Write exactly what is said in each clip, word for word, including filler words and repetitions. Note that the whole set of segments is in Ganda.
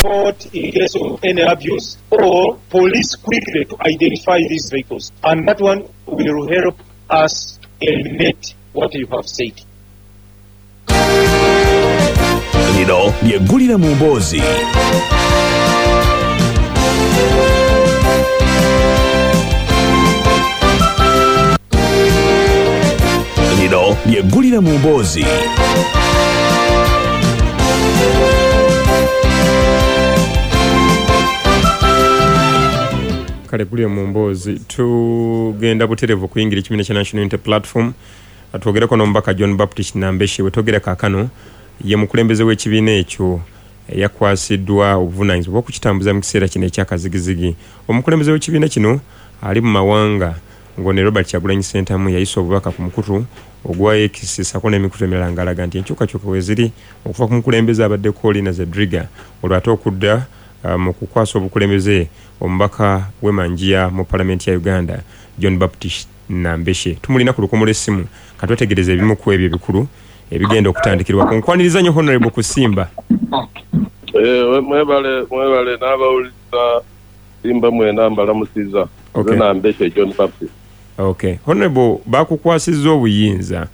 Report in case of any abuse or police quickly to identify these vehicles. And that one will help us eliminate what you have said. Lino lyeggulire mu mboozi. Lino lyeggulire mu mboozi. Kale gulire mu mboozi, tugenda butereevu okuyingira ekibiina kya National Unity Platform, twogereko n'omubaka John Baptist Nambeshe. Wetwogera kaakano ye mukulembeze w'ekibiina ekyo eyakwasiddwa obuvunaanyizibwa okukitambuza mu kiseera kino ekyakazigizigi. Omukulembeze w'ekibiina kino ali mu mawanga ng'one Robert Kyagulanyi Ssentamu yayisa obubaka ku mukutu ogwa X ssaako n'emikutu emirala ng'alaga nti enkyukakyuka we ziri okuva ku mukulembeze abaddeko Lina Zedriga, olwo ate okudda uh, mu kukwasa obukulembeze omubaka w'e Manjiya mu palamenti ya Uganda John Baptist Nambeshe. Tumulina ku lukomo lw'essimu, katwetegereze ebimu ku ebyo ebikulu ebigenda okutandikirwako. Nkwaniriza nnyo Honorable Kusimba. Eh, mwebale mwebale n'abawuliriza Simba mwena mbalamusiza. Okay. Nze Nambeshe John Baptist. Okay. Honorable, bakukwasizza obuyinza.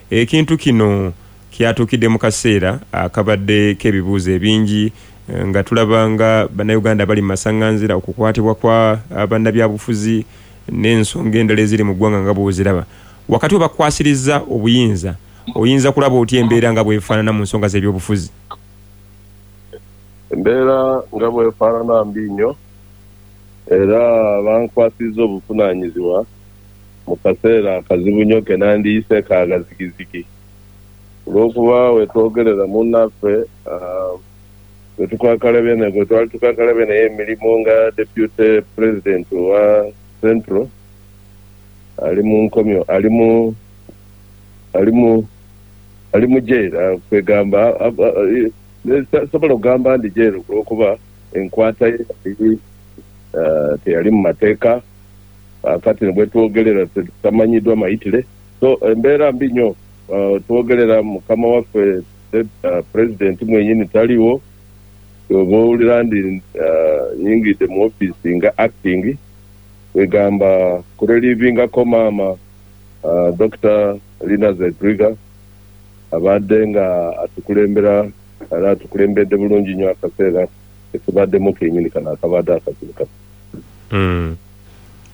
Ekintu kino kyatuukidde mu kaseera akabadde k'ebibuuzo ebingi, eh, nga tulaba nga bannayuganda bali mu masaŋŋanzira, okukwatibwa kwa bannabyabufuzi n'ensonga endala eziri mu ggwanga nga bw'oziraba. Wakati we bakukwasirizza obuyinza, oyinza kulaba otya embeera nga bw'efaanana mu nsonga z'ebyobufuzi? Embeera nga bw'efaanana mbi nnyo, era bankwasizza obuvunaanyizibwa mu kaseera akazibu nnyo ke nandiyise kagazigizigi. Olw'okuba we twogerera munnaffe, ah, bwe tukwakalabye naye, bwe twali tukakalabye naye emirimu nga deputy president wa Central, ali mu nkomyo, ali mu, ali mu, ali mu jail, ah, kwegamba, ah, ah, eh, sobola okugamba ndi jail olw'okuba enkwata ye yali, ah, teyali mu mateeka. Kaakati bwe twogerera tetamanyiddwa mayitire. So embeera mbi nnyo. Ah, twogerera mukama waffe, uh, president mwenyini taliwo. Oba owulira ndi, ah, nyingidde mu ofiisi nga acting, kwegamba kurelivingako maama, ah, Doctor Lina Zedriga abadde nga atukulembera, era atukulembedde bulungi nnyo akaseera ketubaddemu kenyini kano akabadde akazibu kano. Mm.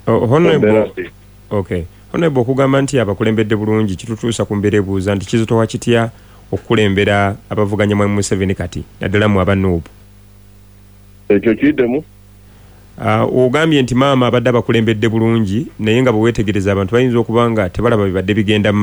Oh, Honorable, Embeera mbi. Okay. Honorable, okugamba nti abakulembedde bulungi kitutuusa ku mbeera ebuuza nti kizitowa kitya okukulembera abavuganya Mwami Museveni kati naddala mu aba N U P? Ekyo kiddemu. Ah, ogambye nti maama abadde abakulembedde bulungi, naye nga bwe weetegereza abantu bayinza okuba nga tebalaba bibadde bigenda mu